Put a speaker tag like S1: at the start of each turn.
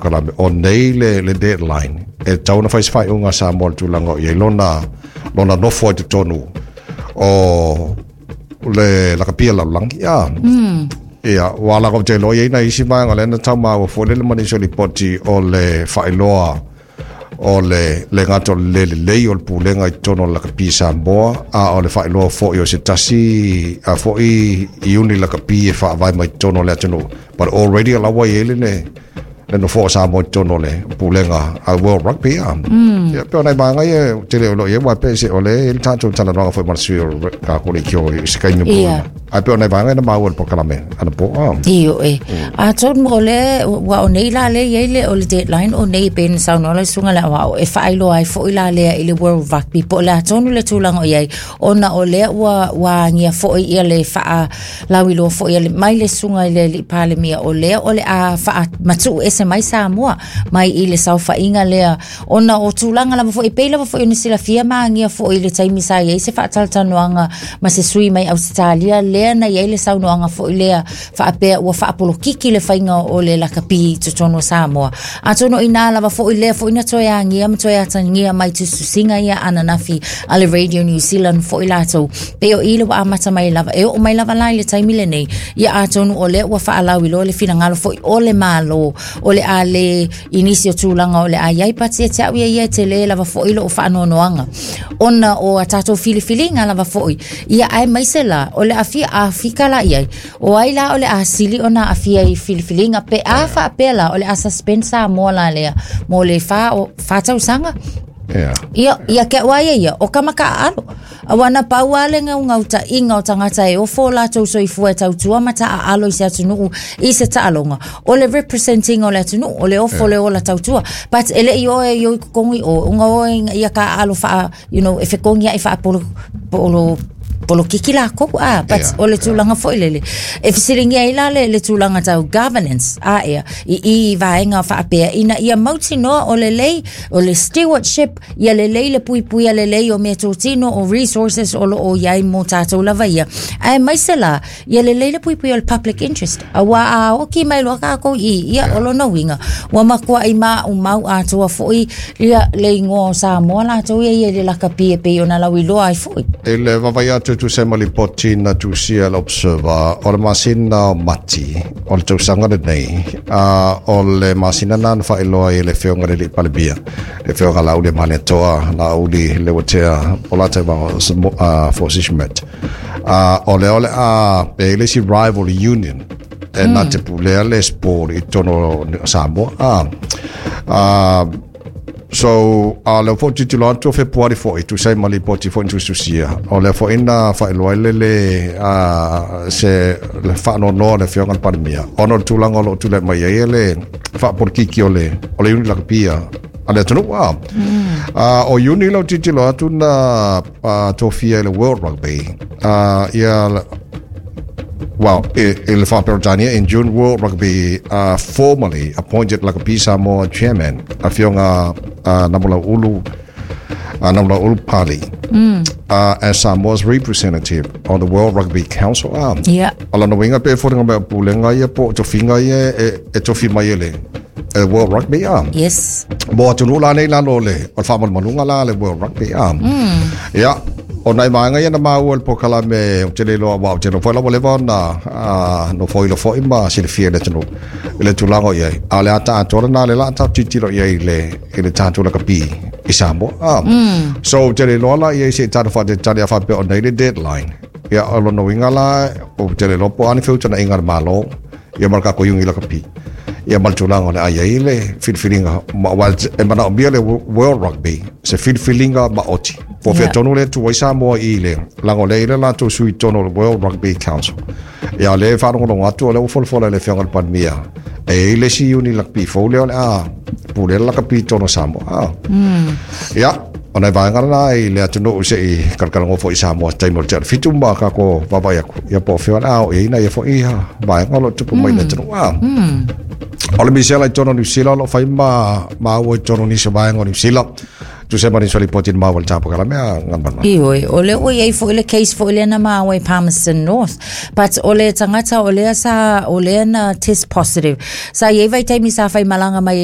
S1: polokalame o nei le deadline e tatau ona fai se faaiuga a Samoa i le tulaga o i ai lona nofo ai totonu o le lakapi a le lalolagi. Ia, ua ala ou te iloa e i ai nai isi vaega lea na tau maua foi lele ma nisi o lipoti o le faailoa o le le gata o le le lelei o le pulega i totonu o le lakapi Samoa, a o le faailoa foi o se tasi a foi iuni lakapi e faavae mai totonu o le atunuu. But already o la ua i ai le nofoa o Samoa i totonu o le pulega a World Rugby. Ia, pei o nai vaega ia ou te le o iloa i ai, aua e pei se o lea e i ai le tatou talanoaga foi ma le sui o le leitio i se taimi mulimuli. Ae pei o nai vaega na maua i le polokalame anapo.
S2: Ioe. Atonu o le ua o nei la le i ai le o le deadline o nei e pei ona saunoa le susuga i le aoao e faailoa ai foi la lea i le World Rugby po o le a tonu le tulaga o i ai ona o lea ua agia foi ia le faalauiloa foi a le mai le susuga i le alii Palemia o lea o le a faamatuu ese mai Samoa mai i le saofaiga lea ona o tulaga lava foi e pei lava foi ona silafia ma agia foi i le taimi sa i ai se faatalatalanoaga ma se sui mai Ausetalia lea na i ai le saunoaga foi lea faapea ua faapolokiki le faiga o le lakapi i totonu o Samoa. Atonu o inā lava foi lea foi na toe agia ma toe atagia mai tusitusiga ia ananafi a le Radio New Zealand foi latou pei o i le ua amata mai lava e oo mai lava la i le taimi lenei ia atonu o lea ua faalauiloa le finagalo foi o le Malo o le a le i nisi o tulaga o le a i ai but ia te au ia ia e tele lava foi lou faanoanoaga ona o a tatou filifiliga lava foi ia aemaise la o le afia Afika la i ai o ai la o le a sili ona aafia i filifiliga pe a faapea la o le a suspend Samoa la lea mo le fa tausaga. Ia, ia ke au a ia ia, o ka makaʻaʻalo. Aua na pau lava le gaugautaʻiga o tagata e ofo o latou soifua e tautua ma taaalo i se atunuu i se taaloga, o le represent ina o le atunuu, o le ofo le ola tautua. But e le i o e o i totogi o, ona o e ina ia taaalo faa, you know, e fekogiaʻi faapolo, polo, polokiki lakou, a, but o le tulaga foi lele. E fesiligia ai la le tulaga tau governance, a ea, i i vaega faapea, ina ia mautinoa o lelei, o le stewardship, Ia lelei le puipuia lelei o meatotino, o resources o lo o i ai mō tātou lava ia. Aemaise la, ia lelei le puipuia o le public interest. Aua a oki mai loa kākou i, ia o lona uiga, ua matuai maumau atoa foi ia le igoa o Samoa latou ia ia i le lakapi e pei ona lauiloa ai foi.
S1: I le vaavaai atu e tusa ai ma lipoti na tusia e le Observer, o le masina o Mati o le tausaga lenei, a o le masina lena na faailoa ai e le Afioga i le Alii Palemia, le Afioga Laaulialemalietoa, Laauli Leuatea Polataivao Fosi Schmidt. O lea o le a e i ai le isi rival union e na te pulea le sport i totonu o Samoa. So, a lea foi tilotilo atu o Fepuari foi, tusa ai ma lipoti foi na tusitusia, o lea foi na faailoa ai le le se le faanoanoa o le Afioga i le Palemia, ona o le tulaga o lo o tulai mai ai le faapolokiki o le iuni lakapi a le atunuu. O iuni lau tilotilo atu na tofia e le World Rugby, ia well, i le Faa-Peretania, in June, World Rugby formally appointed Lakapi Samoa chairman, Afioga Namulauulu Pali, as Samoa's representative on the World Rugby Council. O lona uiga pe foliga mai o pulega ia po o tofiga ia e tofi mai e le World Rugby. Mo atunuu la nei i lalo o le faamalumaluga la a le World Rugby. Ia, o nai vaega ia na maua i le polokalame ou te le iloa, aua ou te iloa foi la ua leva ona nofoilo foi ma silafia e le atunuu i le tulaga o i ai. A o le ata atoa lena lea o le a tatou tilotilo i ai i le tatou lakapi i Samoa. So ou te le iloa la i ai se i tatou faatalitali a faapea o nei le deadline. Ia, o lona uiga la, ou te le iloa po o a ni feutagaiga a le Malo ia ma le tatou iuni lakapi ia ma le tulaga o le a i ai le filifiliga aua e manaomia le World Rugby se filifiliga maoti po o fea tonu lea e tu ai Samoa i le laga o lea e i ai le latou sui i totonu o le World Rugby Council. Ia o lea e faalogologo atu o lea ua folafola e le Afioga i le Palemia e i ai le isi iuni lakapi fou lea o le a pulea le lakapi i totonu o Samoa. Ia, o nai vaega lena i le atunuu se i kalakalanoa foi i Samoa i se taimi o le tea o le 7 ma kākou vaavaai atu ia po o fea o le a oo i ai nai ia foi vaega o lo o tupu mai i le atunuu. O le misela i totonu o Niu Sila o lo o fai ma maua i totonu o nisi o vaega o Niu Sila. Tusa ai ma nisi o lipoti na maua i le polokalame a Galumalemana.
S2: Ioe, o lea ua i ai foi le case foi lea na maua i Palmerston North. But o le tagata o lea sa, o lea na test positive. Sa i ai vaitaimi sa faimalaga mai ai